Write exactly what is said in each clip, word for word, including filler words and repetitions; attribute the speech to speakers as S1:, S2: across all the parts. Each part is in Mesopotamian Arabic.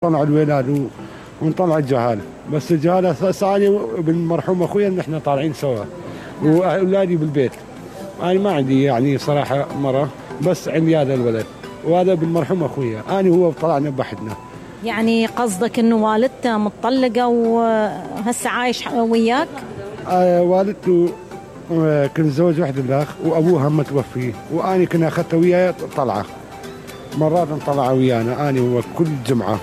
S1: طلع الولاد ونطلع الجهال، بس الجهال هسه انا بالمرحوم اخويا نحن طالعين سوا واولادي بالبيت. انا ما عندي يعني صراحه مره، بس عندي هذا الولد وهذا بالمرحوم اخويا، انا وهو طلعنا بحدنا.
S2: يعني قصدك انه والدته مطلقه وهسه عايش وياك؟
S1: آه والدته كنت متزوج وحده الاخ وابوها متوفي، وانا كنا اخذته وياي طلعه. مرات نطلع ويانا انا وهو كل جمعه،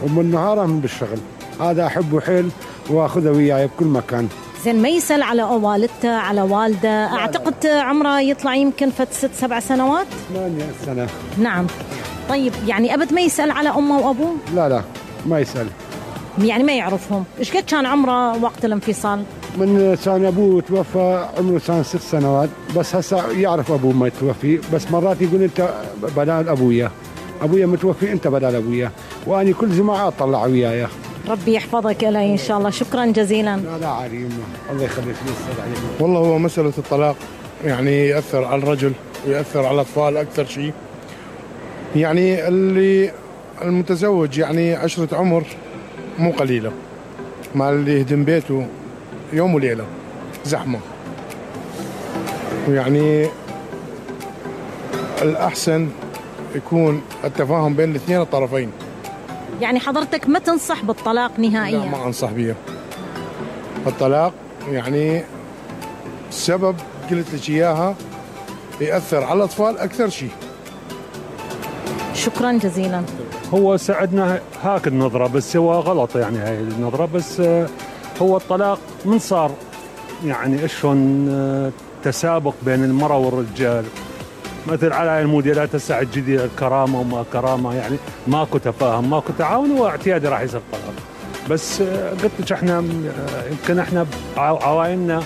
S1: ومن نهاره من بالشغل. هذا احبه حيل واخذه وياي بكل مكان.
S2: زين ما يسأل على والدته على والده؟ اعتقد عمره يطلع يمكن فت ست سبع سنوات.
S1: ثمانية سنة.
S2: نعم. طيب يعني ابد ما يسأل على امه وابوه؟
S1: لا لا ما يسأل.
S2: يعني ما يعرفهم. ايش قد كان عمره وقت الانفصال؟
S1: من كان ابوه توفى عمره كان ست سنوات، بس هسه يعرف ابوه ما يتوفي، بس مرات يقول انت بدال ابويا، ابويا متوفي انت بدال ابويا، وانا كل جمعه اطلع وياي.
S2: ربي يحفظك له ان شاء الله. شكرا جزيلا.
S1: لا لا عادي يمه، الله يخليك ويسعد عليك.
S3: والله هو مساله الطلاق يعني ياثر على الرجل وياثر على الاطفال اكثر شيء. يعني اللي المتزوج يعني عشره عمر مو قليله، مع اللي يهدم بيته يوم وليله زحمه. ويعني الاحسن يكون التفاهم بين الاثنين الطرفين.
S2: يعني حضرتك ما تنصح بالطلاق نهائيا؟
S3: لا ما انصح به. الطلاق يعني السبب قلت لك اياها ياثر على الاطفال اكثر شيء.
S2: شكرا جزيلا.
S4: هو ساعدنا هاك النظره، بس هو غلط يعني هاي النظره. بس هو الطلاق من صار يعني اشون تسابق بين المراه والرجال، مثل على الموديلات هسه الجديده الكرامه وما كرامه، يعني ماكو تفاهم ماكو تعاون واعتيادي راح يصير طلاق. بس قلت لك احنا يمكن احنا عوائلنا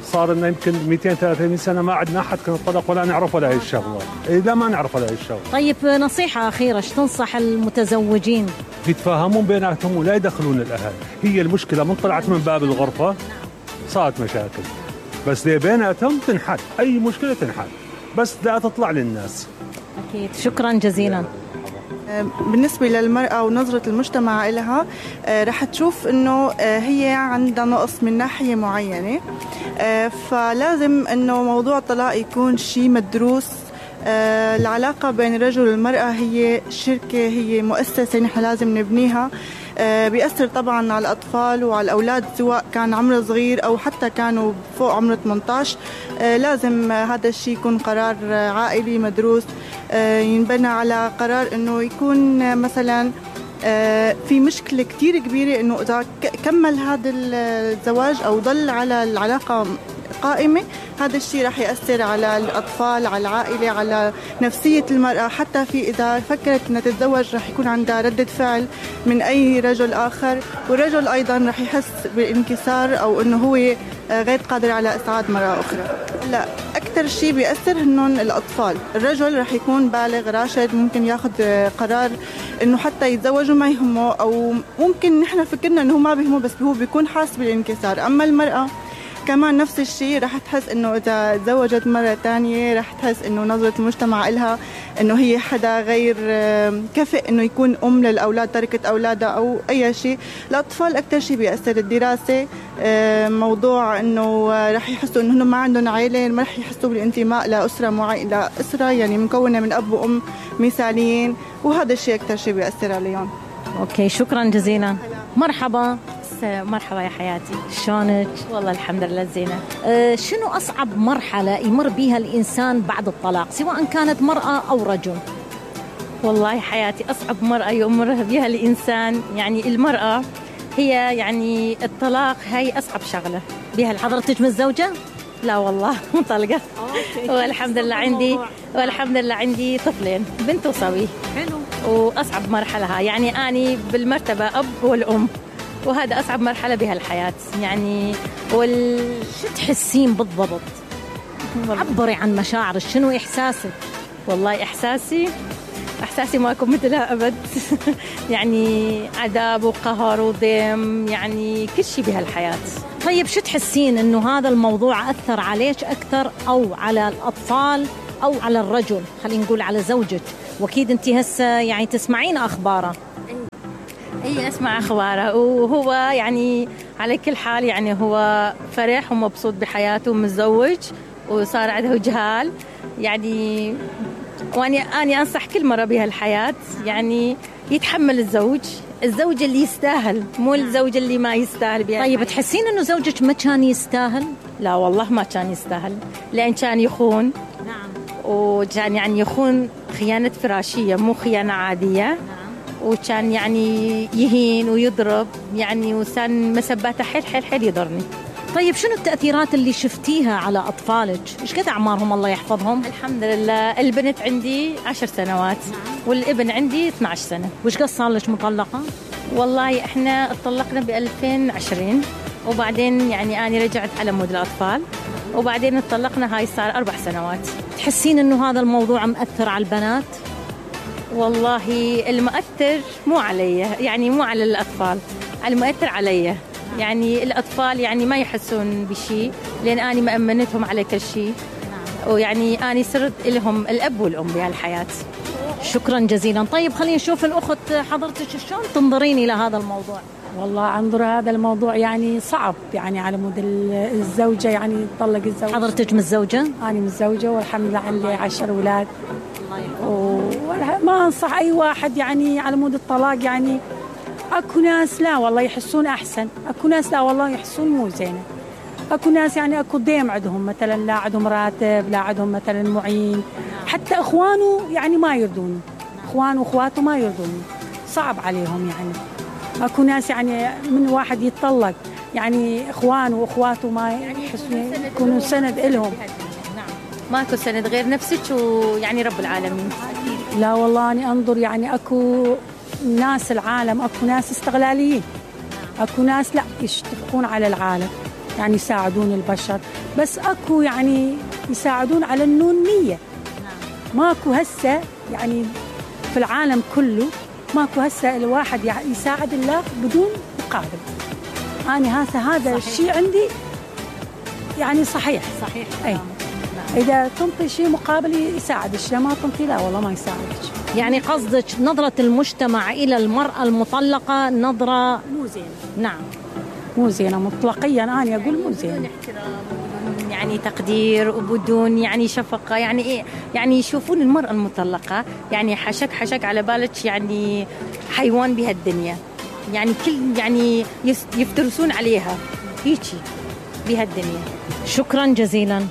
S4: صار لنا يمكن مئتين ثلاثمئة سنه ما عندنا احد كان الطلاق ولا نعرف ولا هي الشغله. لا ما نعرف ولا هي الشغله.
S2: طيب نصيحه اخيره ايش تنصح المتزوجين؟
S4: يتفاهمون بيناتهم ولا يدخلون الاهل. هي المشكله من طلعت من باب الغرفه صارت مشاكل، بس دي بيناتهم تنحل، اي مشكله تنحل بس لا تطلع للناس.
S2: اكيد. شكرا جزيلا.
S5: بالنسبة للمرأة ونظرة المجتمع لها، رح تشوف انه هي عندها نقص من ناحية معينة، فلازم انه موضوع الطلاق يكون شيء مدروس. العلاقة بين الرجل والمرأة هي شركة، هي مؤسسة نحن لازم نبنيها. بيأثر طبعا على الأطفال وعلى الأولاد سواء كان عمره صغير أو حتى كانوا فوق عمر ثمانية عشر. لازم هذا الشيء يكون قرار عائلي مدروس، ينبنى على قرار أنه يكون مثلا في مشكلة كتير كبيرة أنه إذا كمل هذا الزواج أو ضل على العلاقة قائمة، هذا الشيء رح يأثر على الأطفال، على العائلة، على نفسية المرأة. حتى في إذا فكرت أنها تتزوج رح يكون عندها ردة فعل من أي رجل آخر، والرجل أيضا رح يحس بالانكسار أو أنه هو غير قادر على إسعاد مرأة أخرى. لا أكثر شيء بيأثر هنن الأطفال. الرجل رح يكون بالغ راشد، ممكن ياخذ قرار أنه حتى يتزوج وما يهمه، أو ممكن نحن فكرنا أنه ما بيهمه بس هو بيكون حاس بالانكسار. أما المرأة كمان نفس الشيء، رح تحس انه اذا تزوجت مرة تانية رح تحس انه نظرة المجتمع إلها انه هي حدا غير كفء انه يكون ام للاولاد، تركت اولادها او اي شيء. الاطفال اكثر شيء بيأثر الدراسة، موضوع انه رح يحسوا انه ما عندهم عائلة، ما رح يحسوا بالانتماء لأسرة معينة، لأسرة يعني مكونة من اب وام مثاليين، وهذا الشيء اكثر شيء بيأثر عليهم.
S2: اوكي شكرا جزيلا. مرحبا. مرحبا يا حياتي، شلونك؟ والله الحمد لله زينة. أه شنو أصعب مرحلة يمر بها الإنسان بعد الطلاق سواء كانت مرأة أو رجل؟
S6: والله حياتي أصعب مرأة يمر بها الإنسان يعني المرأة هي يعني الطلاق، هاي أصعب شغلة بها.
S2: حضرتك متزوجة؟
S6: لا والله مطلقة. والحمد لله عندي والحمد لله عندي طفلين، بنت وصبي.
S2: حلو.
S6: وأصعب مرحلة هاي يعني أني بالمرتبة أب والأم، وهذا أصعب مرحلة بها الحياة يعني. وال
S2: شو تحسين بالضبط؟ عبري عن مشاعرك، شنو إحساسك؟
S6: والله إحساسي إحساسي ما أكون مثلها أبد. يعني عذاب وقهر وضيم، يعني كل شيء بها الحياة.
S2: طيب شو تحسين إنه هذا الموضوع أثر عليك أكثر أو على الأطفال أو على الرجل؟ خلينا نقول على زوجك، وأكيد أنت هسه يعني تسمعين أخباره.
S6: اي اسمع اخباره، وهو يعني على كل حال يعني هو فرح ومبسوط بحياته، متزوج وصار عنده جهال يعني. واني اني انصح كل مره بهالحياه يعني يتحمل الزوج، الزوج اللي يستاهل، مو الزوج اللي ما يستاهل بها.
S2: طيب تحسين انه زوجك ما كان يستاهل؟
S6: لا والله ما كان يستاهل، لان كان يخون.
S2: نعم.
S6: وكان يعني يخون خيانه فراشيه، مو خيانه عاديه.
S2: نعم.
S6: وكان يعني يهين ويضرب يعني، وكان مسباته حيل حيل حيل يضرني.
S2: طيب شنو التأثيرات اللي شفتيها على أطفالك؟ إيش قد أعمارهم الله يحفظهم؟
S6: الحمد لله البنت عندي عشر سنوات. نعم. والابن عندي اثني عشر سنة.
S2: وإيش قد صار لك مطلقة؟
S6: والله إحنا اتطلقنا ب ألفين وعشرين، وبعدين يعني أنا رجعت على مود الأطفال، وبعدين اتطلقنا، هاي صار أربع سنوات.
S2: تحسين إنه هذا الموضوع مأثر على البنات؟
S6: والله المؤثر مو علي، يعني مو على الأطفال، المؤثر علي. يعني الأطفال يعني ما يحسون بشيء، لأن أنا مأمنتهم على كل شيء. ويعني أنا صرت لهم الأب والأم بهالحياة.
S2: شكرا جزيلا. طيب خلينا نشوف الأخت حضرتك شلون تنظرين إلى هذا الموضوع؟
S7: والله أنظر هذا الموضوع يعني صعب، يعني على مود الزوجة يعني تطلق الزوج.
S2: حضرتك متزوجة؟
S7: أنا متزوجة والحمد لله عندي عشر أولاد. وما أنصح أي واحد يعني على مود الطلاق. يعني اكو ناس لا والله يحسون احسن، اكو ناس لا والله يحسون مو زينه، اكو ناس يعني اكو ضيم عندهم مثلا، لا عندهم راتب، لا عندهم مثلا معين، حتى اخوانه يعني ما يرضون، اخوانه واخواته ما يرضون، صعب عليهم يعني. اكو ناس يعني من واحد يتطلق يعني اخوانه واخواته ما يحسون يكونوا سند لهم.
S6: ماكو سند غير نفسك ويعني رب العالمين.
S7: لا والله أنا أنظر يعني أكو ناس العالم، أكو ناس استغلاليين، أكو ناس لا يشتفقون على العالم يعني يساعدون البشر، بس أكو يعني يساعدون على النونية. ماكو هسه يعني في العالم كله ماكو هسه الواحد يساعد الله بدون مقابل. أنا هذا هذا الشيء عندي يعني صحيح
S2: صحيح.
S7: أي. إذا تنطي شيء مقابل يساعد الشيء، ما تنطي لا والله ما يساعدك.
S2: يعني قصدك نظرة المجتمع إلى المرأة المطلقة نظرة
S7: مو زينة؟
S2: نعم
S7: مو زينة مطلقيا، أنا أقول مو زينة.
S6: بدون احترام، يعني تقدير، وبدون يعني شفقة، يعني إيه، يعني يشوفون المرأة المطلقة يعني حشك حشك على بالك يعني حيوان بهالدنيا، يعني كل يعني يفترسون عليها هيجي بهالدنيا.
S2: شكرا جزيلا.